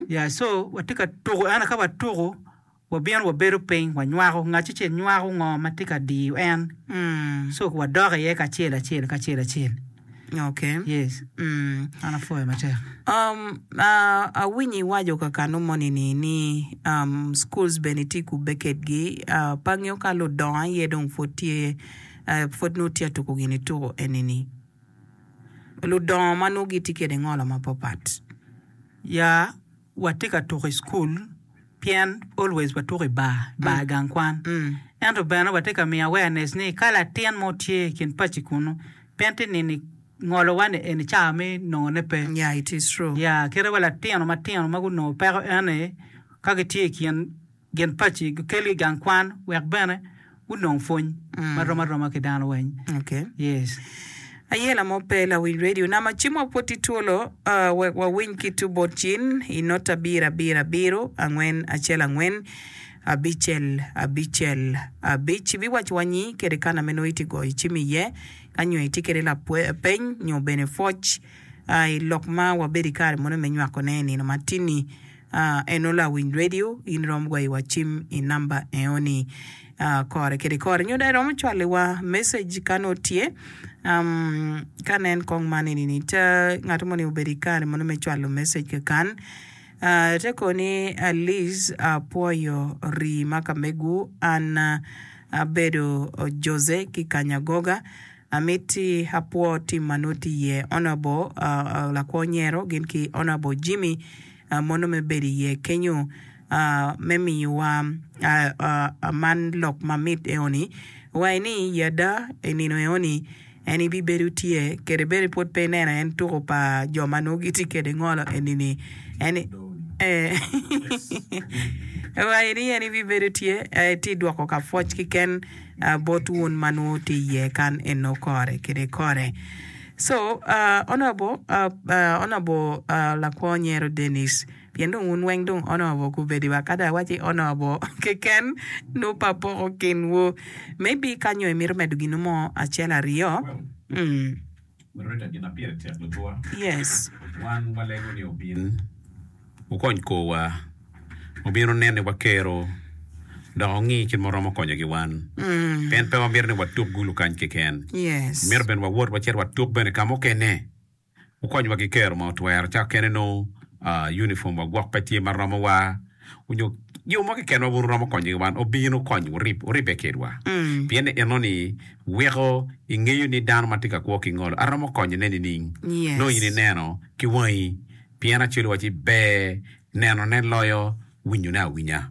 Yeah, so watye ka tuko ento ka watuko wabino wabedo piny wanywako, ngat acel nywako ngo ma tye ka diyo en so wadok iye kacel acel kacel acel. Okay. Yes. Mm. An apwoyo matek. Um, uh, awinyo iwaco kakanu moni ni ni um, schools bene itye kubbe kedgi. Uh, pe angeyo ka ludongo aye dong pwod tye uh, pwod nongo tye atuko gini tuko eni ni. Ludongo ma nongo gitye kede ngolo mapapat. Ya, watye ka tuko i school pien always watuko i bar, bar gang kwan. Ento bene watye ka miyo awareness ni ka latin mo tye i kin paci kunu pien ti nini ngolo wa ni eni cawa me nongo ne pe. Yeah, it is true. Yeah, kite wa latino matino ma gunongo peko eni ka gitye i kin gin paci gikelgi i gang kwan wek bene gunong pwony ma rom aroma ki dano weng. Okay. Yes. Ayela mo pe lawiny radio nama cim wa pwod tye twolo uh, wek wawiny ki tu bot cin i nota abiro abiro abiro angwen acel angwen abicel abicel abic ibiwaco wa nyi kede kana me nongo itye goyo cim iye ka nyo itye kede lapeny nyo bene pwoc uh, i lok ma wabedo i kare mono me nywako ne i nino matini Eno lawiny radio in iromo gweyo wa cim i namba eo ni kore kede kore nyo dong iromo cwalo wa message ka nongo tye ka nen kong man eni ni te ngat moni obedo i kare mono me cwalo message kakan te koni Liz apwoyo rii ma ka megu an abedo Jose ki Kanyagoga Amiti apwo tim ma nongo tye iye Honourable Lakwo Nyero gin ki Honourable Jimmy mono me bedo iye kenyo me miyowa man lok mamit eoni wa ni i ada i nino eoni en ibibedo tye kede bene pwod pe ineno en tuko pa jo ma nongo gitye kede ngolo enini en wa ni en ibibedo tye tye dwoko ka pwoc keken bot wun ma nongo tye iye kan eno kore kede kore. So, uh, Honorable, uh, uh, Honorable uh, Lakwo Nyero Dennis, pien dong wun weng dong Honorable kubedi wa kada awaci Honorable keken nongo pe apoko kinwu. Maybe ka nyo imito medo ginu mo acel aryo. Mm. Loretta gin ma pire tek lutwa. Yes. Wan walego ni obin okony korwa, obin onen ni wakero dok ongi kit ma waromo konyo ki wan. Pien pe wamito ni watuk gulu kany keken. Yes. Mito bene wawot wacit watuk bene ka mukene. Wukonywa ki kero ma wutwero. Ca okene nongo uniform wa gwok pe tye ma romowa onyo jo mo keken ma wun wuromo konyo ki wan obin wukony wuribbe kedwa. Pien ni enoni weko ingeyo ni dano ma tye ka kwo ki ngolo aromo konyone nining? Nongo in ineno ki wangi pien acwali wacci ber nenone loyo winyone awinya.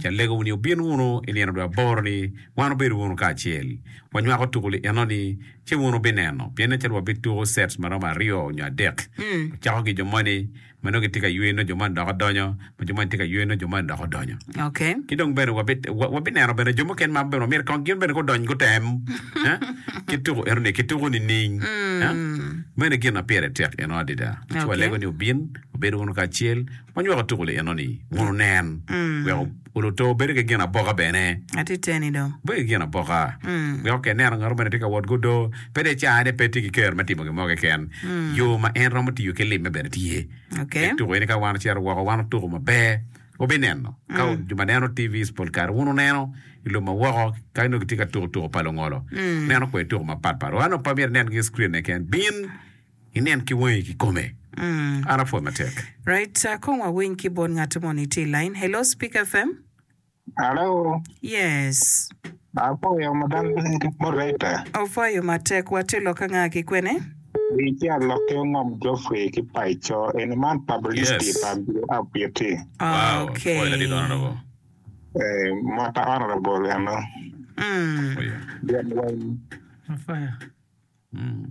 Ci alegowu ni wubin wunu i nino dwe aboro-ni, wan wubedo wunu kacel, wanywako tuko-li enoni, ci wun wubineno, pien nen calo wabituko sets ma romo aryo nyo adek. Wacako ki jo moni ma nongo gitye ka yweyo, nongo jo moni dok odonyo, ma jo moni tye ka yweyo, nongo jo moni dok odonyo. Okay. Ki dong bene wabi- wa- wabineno bene jo mukene ma bene wamito kong gin bene gudony gutem eh, ki tuko enoni kituko nining. Eh? Meno gin ma pire tek eno adada. Ci Okay. walego ni wubin, wubed wunu kacel, Wanywako tuko li enoni wun wunen, wek oluto bedo ki gin aboka bene. Atye teni dong. Bedo ki gin aboka. Wek oke neno ngat moni tye ka wot gudo, pe dong icane pe tye ki kero me timo gin mo keken. Yo ma en romo tiyo ki limme bene tye. Okay. Dok tuko eni ka wan ocito woko, wan otuko maber, wubineno. Ka jo ma neno TVs pol kare wun wuneno i lobo ma woko ka nongo gitye ka tuko tuko pa lungolo. Neno kwede tuko mapatpat. Wan pe myero inen ki screen keken. Bin! Inen ki wangi kikome. An apwoyo matek. Right, uh, kong wawiny ki bot ngat moni tye i line. Hello, Speak FM. Hello, Yes. apwoyo madam moderator. Opwoyo matek. Watye lok anga ki kwene? Itye alok ki ongom Geoffrey ki Paico. Eni man publicity Yes. pa Biro Apiti. Wow, Okay. pwoyo ladit honorable. Eh, mota honorable eno. Mm. Pwoyo. Gin weng. Apwoyo.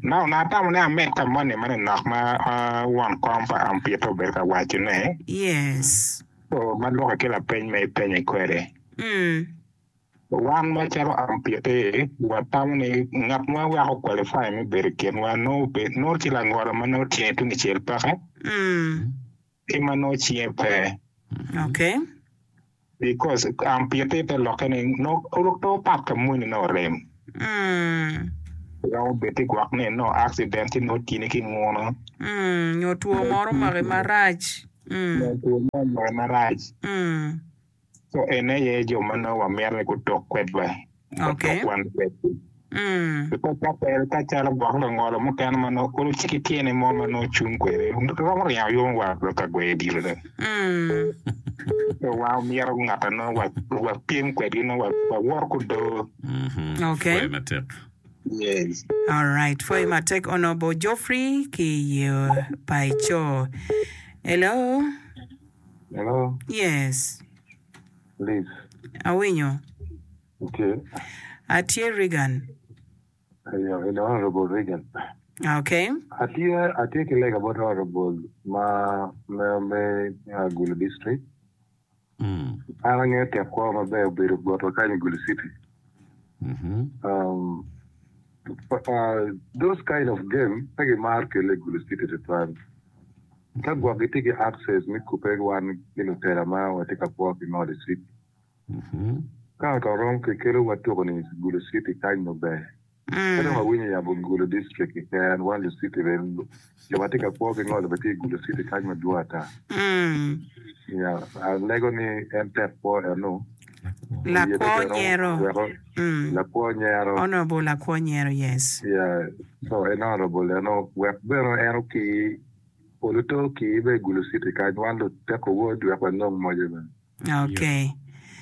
Now, natamo ni amed ka moni manonok ma won kom pa Ampita obedo ka wacone. Yes. So, ma lwoke ki lapeny ma ipenye kwede. Mm. Wan macalo Ampiti, watamo ni ngat ma weko qualify me bedo i kinwa nongo obed, nongo tye langolo ma nongo tyene tung kicel peke, Mm. ki ma nongo cinge pe. Okay. Because ampiti te lokke ni nongo pe opat ka moni nongo orem. Mm. Romo bed ti gwok ni nongo accident ci nongo tini ki nguno. Mm, nyo two moro omaki marac. Nyo two mo omake marac. So ene aye jo ma nongo wamito ni gutuk kwedwa, watuk wan kwedgi. Because ka pe, ka calo gwok lungolo mukene ma nongo olo ci ki tyene mo ma nongo cung kwede, romo ringo yomo wa ka gweyo odilo dong. So wan omyero ngat a nongo wapyem kwedgi nongo wawoto ki odoo. Okay. Pwoyo matek. Yes. Alright, pwoyo matek Honorable Geoffrey ki i Paico. Hello. Hello. Yes. Liz. Awinyo. Itye? Atye Reagan. Ayo, in Honorable Reagan. Okay. Atye, atye ki lega bot Honorable ma me, me uh, Gulu District. Mm. An angeyo tek kwo maber obedo botwa kany i Gulu City. Mhm. Um, uh, those kind of game pe gimaro kele i Gulu City tutwal. Ka gwok gitye ki access me kubbe wan ki lutela ma watye ka kwo ki ngolo i city. Ka ot orom ki kelo wa tuko ni Gulu city kany nongo ber. Pe dong awinyo yabo Gulu district keken wan lu city bene jo ma tye ka kwo ki ngolo bene tye i Gulu city kany madwong ata. Ya alego ni en tek kwo eno Lakwo nyero. Lakwo nyero. Honorable Lakwo nyero yes. Ya so en honorable eno wek bene en oki olo to oki bene i Gulu city kany wan luteko wod wek wanong moce bene. Okay.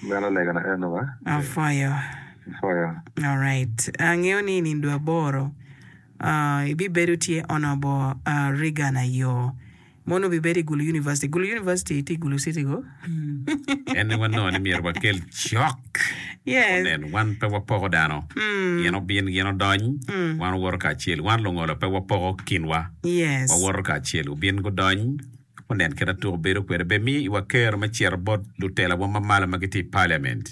Meno legana eno ba. Apwoyo. Apwoyo. Alright. Angeyo ni i nindo aboro uh, ibibedo tye Honorable uh, Reagan Ayo. Mono obibedo i Gulu University. Gulu University tye i Gulu City go? En aye wanongo ni myero wakel cok. Yes. Onen, wan pe wapoko dano. Gin obin, gin odony, wan wawoto kacel. Wan lungolo pe wapoko kinwa. Yes. Wawoto kacel. Obin gudony, onen kit ma tuko bedo kwede. Bed mi iwa kero me cito bot lutelawa ma malo ma gitye i Parliament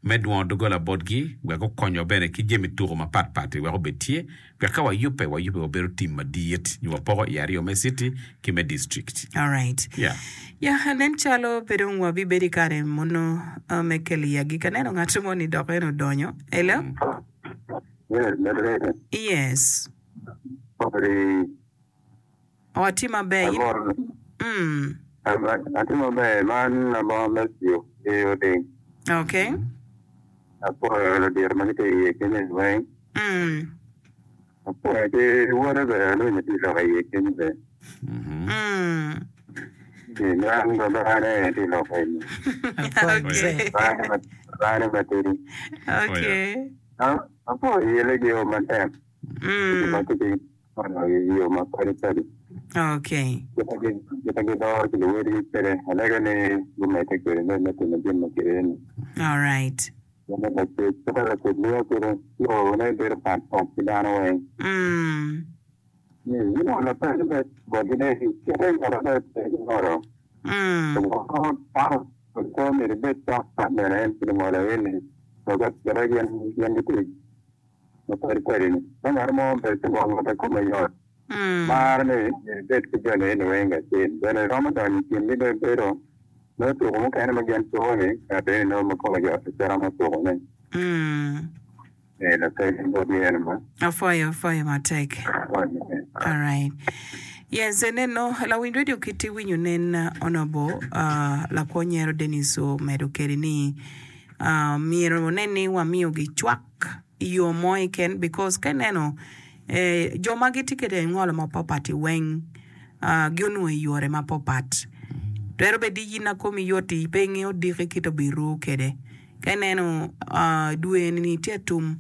me dwongo doggola botgi wek gukonywa bene ki jami tuko mapatpat-ti wek obed tye wek ka wayubbe, wayubbe wabedo tim madit nyo wapoko i aryo me citi ki me district. Alright. Yeah. Ya, nen calo pe dong wabibedo i kare mono me kelo i agikki. Aneno ngat mo ni dok en odonyo. Hello? Yes, moderator. Yes. Ori. Oh, atye maber. In... Amor. Mm. Atye maber. Man labongo me tiyo ki oding. Okay. Apwoyo ludito ma gitye iye kenyo ni weng. Mm. Apwoyo ki wode bene alunyo tye lok iye kenyo bene. Mm. Man babane tye lok eni. Okay. Babane matidi. Okay. Apwoyo yele gi o matek. Mm. I yo ma padi padi. Okay. Kit ma gidoro ki luwotgi kwede, alego ni gumedde kwede me timo jami ma kit eni. All right. Kit ma lacwec miyo kwede, yone bedo pat pat ki dano weng. Mm. Gin lapeny me botgi ni, Kite ngolo me pe ki ngolo. Mm. Dano pe myero ibed cok pat bene en ki lungolo eni. Kite gin gitye ma padi padi-ni. Ka ngat mo obedo ki gwok ma pe kome yot, maro ni myero ebed ki joni eni weng kacel. Bene romo donyo i kingi dong bedo nongo tuko mukene ma gin tuko-ni, ngat eni nongo ma kome yot-ti pe romo tukone. Ee, lapeny botgi eno ma. Apwoyo, apwoyo matek. Alright. Yes, eneno lawiny radio kit iwinyo nen Honorable uh, lakwo nyero Dennis omedo kede ni uh, myero onen ni wamiyogi cwak i yo mo keken because ka ineno jo ma gitye kwede ngolo mapatpat-ti weng ginongo i yore mapatpat. Twero bed ni in ma komi yot-ti pe ingeyo diki kit obiru kwede. Ka ineno dwe eni tye atum,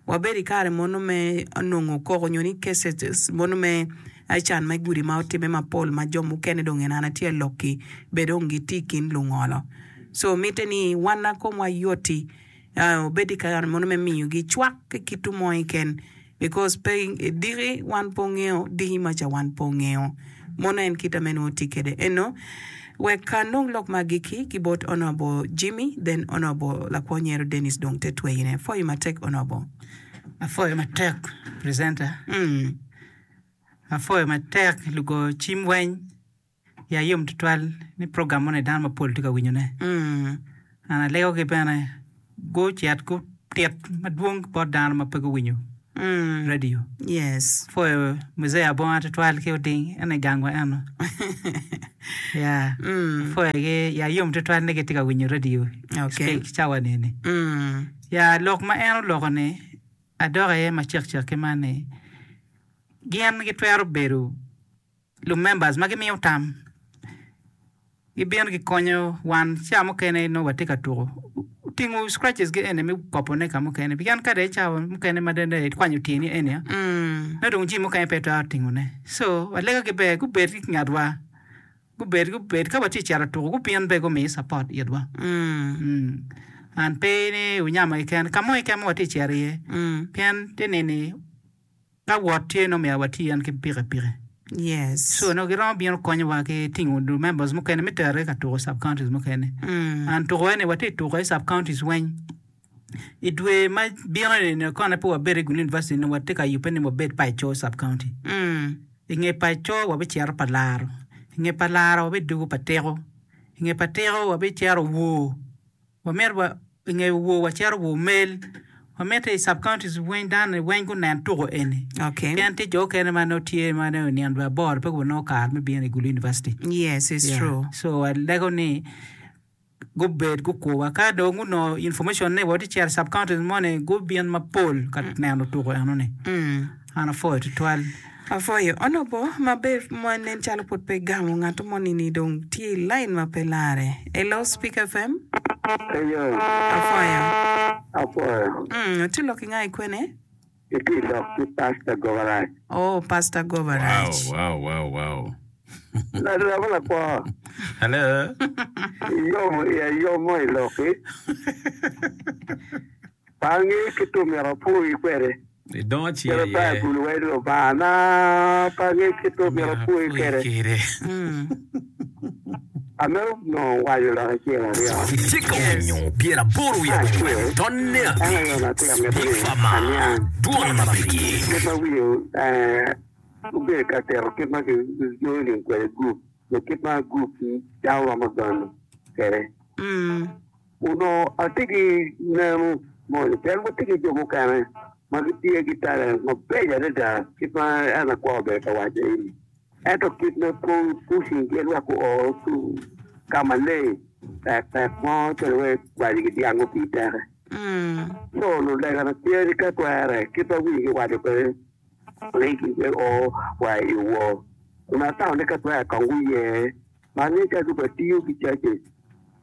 wabedo i kare mono me nongo koko nyo ni cases mono me can me gudi ma otimme mapol ma jo mukene dong en an atye ka lok-ki bene dong gitye i kin lungolo. So mitte ni wan ma komwa yot-ti Obed i kare mono me miyogi cwak ki kitu mo keken because pe diki wan pe ongeyo diki maca wan pe ongeyo mono en kita me nongo tye kede eno wek anong lok ma agikki ki bot honourable Jimmy then honourable lakwo nyero Dennis dong te tweyine apwoyo matek honourable. Apwoyo matek presenter. Apwoyo matek lugo cim weny. Iya yom tutwal ni program moni dano mapol tye ka winyone. An alegogi bene gucit gutit madwong bot dano ma pe guwinyo. Radio. Yes. Pwoyo Muzee Abonga tutwal ki Oding eno i gangwa eno. Yeah. Pwoyo gi ya yom tutwal ni gitye ka winyo radio Okay. Speak cawa ni ni. Mm. Ya lok ma en oloko ni adok iye macek cek ki man ni gin gitwero bedo lu members ma gimiyo tam gibino gikonyo wan ca mukene nongo watye ka tuko tingo scratches gi eni me kopo ne ka mukene pien ka dong icawa mukene ma dong ikwanyo tyeni eni nongo dong jami mukene pe itwero tingo ne so walega gi ber gubed ki ngatwa gubed gubed ka watye ka cito tuko gubin bene gumi support itwa and pe ni wunyamo keken ka mo keken ma watye ka cito iye pien te nini Ka wot tye nongo myero wati en ki pikipiki. Yes. So nongo giromo bino konyowa ki tingo members mukene me tere ka tuko sub counties mukene. And tuko eni watye tuko i sub counties weng. I dwe ma bino ni kone pe wabedo i Gulu University nongo watye ka yubbe ni wabed Paco sub county. I nge Paco wabicito pa Laro. I nge pa Laro wabidwogo pa Tiko. I nge pa Tiko wabicito Wor. Wamito wa i nge wor wacito wa omel, wamito i sub counties weng dano ni weng gunen tuko eni. Okay. Pien tye jo okene ma nongo tye ma nongo nino dwe aboro pe gunongo kare me bino i Gulu University. Yes, it's Yeah. true. So walego ni gubed gukurwa ka dong gunongo information ni watye cito i sub counties moni gubin mapol ka neno tuko eno ni. Mm. An apwoyo tutwal. Apwoyo. Onobo maber ma nen calo pwod pe igamo ngat moni ni dong tye i line ma pe lare. Hello Speak FM. Eyo. Apwoyo. Apwoyo. Mm, itye lok ki nga i kwene? Itye lok ki Pastor Gobaraj. Oh, Pastor Gobaraj. Wow, wow, wow, wow. Larema lakwo. Hello. Iyomo iya yom mo i loki. Pe angeyo kit ma myero apwoyi kwede. Idongo ci Calo aye. Baibul waco ni, Lubangana, pe angeyo kit ma myero apwoyi kwede. Amito nongo waco lok acel aryo. Itye ka winyo 84 tonne En aye abic onongo atye ka mito Big ni Pharma aniang dwon ma pigi. kit ma wiye obedo ka tito kit ma ki-joining kwede gurup nyo kit ma gurup dano romo donyo kwede. Onongo atye ki neno moni pien watye ki jo mukene ma gitye ki talent mabeco adada kit ma en Akwar obedo ka waco eni ento kit me pushing gin wek guo ka maleng tek tek mo calo wai kwaco ki dyang gupii teke co lulegana tye ni ka twere kit ma wigi waco kwede ni o wa i wor onongo atamo ni ka twere kong guye Ma angeyo calo gubed tiyo ki churches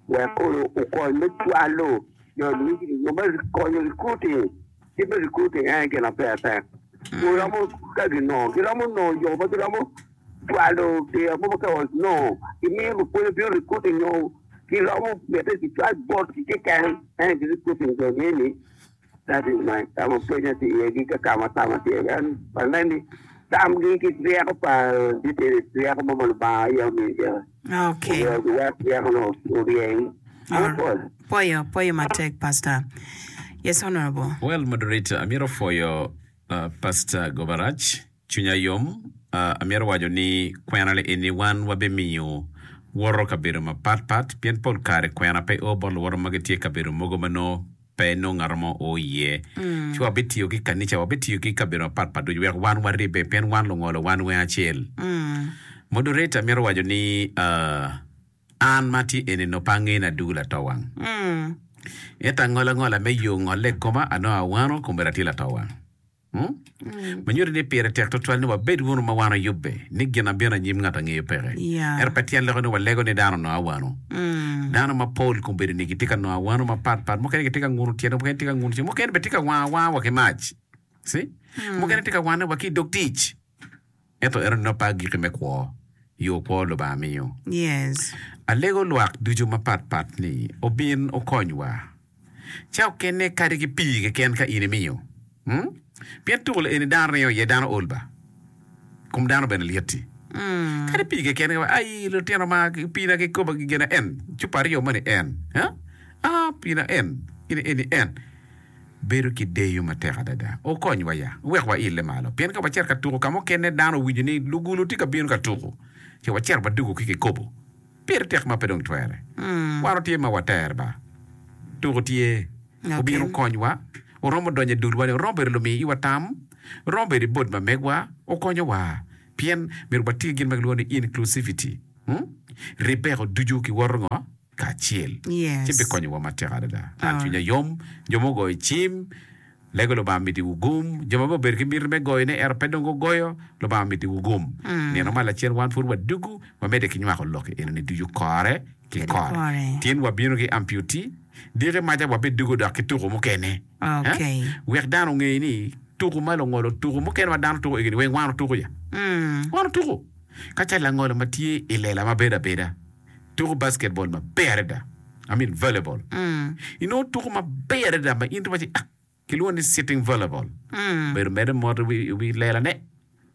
wek kono okony me cwalo jo nyo me konyo recruiting kit me recruiting en aye gin ma pire tek giromo ka ginongo giromo nongo yo ma giromo cwalo diro mogo ka nongo gimiyo lupwonye bino recruiting nyo giromo miti gicwal botgi keken en aye recruiting jo nge ni That is my ka ma pwenya tye iye ki ka ma tama tye iye. En aneno ni tamgi ki ryeko pa detail ryeko mo ma Lubanga aye omiyo gire. Okay. Omyero giwek ryeko-nu oryeny. An apwoyo. Pwoyo, pwoyo matek Pastor. Yes Honorable. Well moderator amyero pwoyo Pastor Gobarach cwinya yom amyero waco ni kwena li eni wan wabimiyo woto kabedo mapat pat pien pol kare kwena pe o bot luwoto ma gitye kabedo mogo ma nongo pe nongo ngat mo o iye. Ci wabitiyo ki kanica, wabitiyo ki kabedo mapat pat ducu wek wan waribbe pien wan lungolo wan weng acel. Moderator mito waco ni an ma atye eni nongo pe angeyo ni adwogo latowang. Ento angola ngola me yo ngolle i koma anongo awano kombeddi atye latowang. Ma nyuto ni pire tek twatwal ni wabed wunu ma wan oyubbe ni gin ma bino anyim ngat angeyo peke. Ento pe tyen loko ni walego ni dano onongo awano. Dano mapol kombeddi ni gitye ka nongo awano mapat pat, mukene gitye ka nguno tyene, mukene tye ka nguno cing, mukene bene tye ka wango awanga wa ki mac. See? Mukene tye ka wanne wa ki i dog tic. Ento eno nongo pe agikki me kwo, yo kwo Lubanga miyo. Yes. Alego lwak ducu mapat pat ni obin okonywa. Ca okene kadi ki pii keken ka in imiyo. Hmm? Pien tuko eni dano ringo iye dano ol ba. Kom dano bene lyetti. Kadi pii keken ka ai lutino ma piina kikopo gigena en cupa aryo moni en. Ha? Ah piina en gini eni en. Bedo ki deyo matek adada. Okonywa ya, wek waille malo. Pien ka wacito ka tuko ka mukene dano owinyo ni lugulu tye ka bino ka tuko, ci wacito wadugo ki kikopo. Pire tek ma pe dong twere. Wan watye ma water ba. Tuko tye. Obino okonywa. Oromo donyo i dulwa ni, oromo bedo lumi iwa tam. Romo bedo i board ma megwa okonyowa pien myero wati ki gin ma kilwongo ni inclusivity. Ribeko ducu kiwoto ngo? Kacel. Ci bikonyowa matek adada. An cwinya yom, jo ma ogoyo cim, lego Lubanga mitiwu gum, jo ma bene obedo ki miti me goyone ento pe dong gugoyo, Lubanga mitiwu gum. Nino ma lacen wan pud wadugu, wamedde ki nywako lok enoni ducu kore ki kore. Tin wabino ki amputee, diki maca wabidugo dok ki tuko mukene. Wek dano onge ni tuko ma lungolo tuko mukene ma dano tuko egini weng wan otuko ya. Wan otuko. Ka calo langolo ma tye i lela ma bedo abeda tuko basketball maber adada, I mean volleyball. Inongo tuko maber adada ma in iwaci ah kilwongo ni sitting volleyball. Bedo mere mot i wi lela ne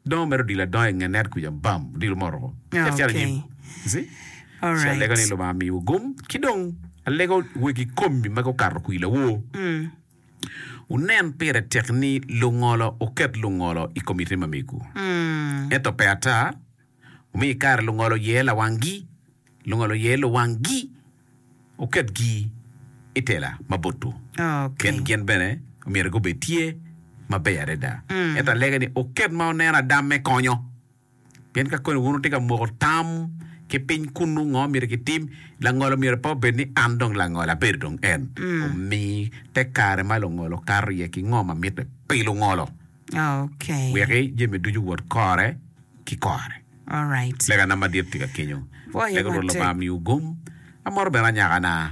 dongo mere odilo adonga i nge net kuca bam odilo mot oko. Cito cito anyim. You see? Ci alego ni Lubanga omiwu gum ki dong alego wegi komi ma gukato kwir lawor. Wunen pire tek ni lungolo wuket lungolo i komiti ma megwu. Ento pe ata, wumi kare lungolo oyer lawanggi, lungolo oyer luwanggi, wuketgi i tela ma botwu, pien gin bene myero gubed tye maber adada. Ento alege ni wuket ma wuneno adam me konyo. Pien ka koni wun wutye ka moko tam ki piny kunnu ngo myero kitim, langolo myero pe obed ni an dong langolo abedo dong en. Omi te kare ma lungolo kato iye ki ngo ma mitte pi lungolo. Okay. Weki jami ducu owot kore ki kore. Alright. Legana madit tye ka kenyo. Pwoyo Lego Rwot matek. Lubanga miwu gum. Amoro bene anyakana.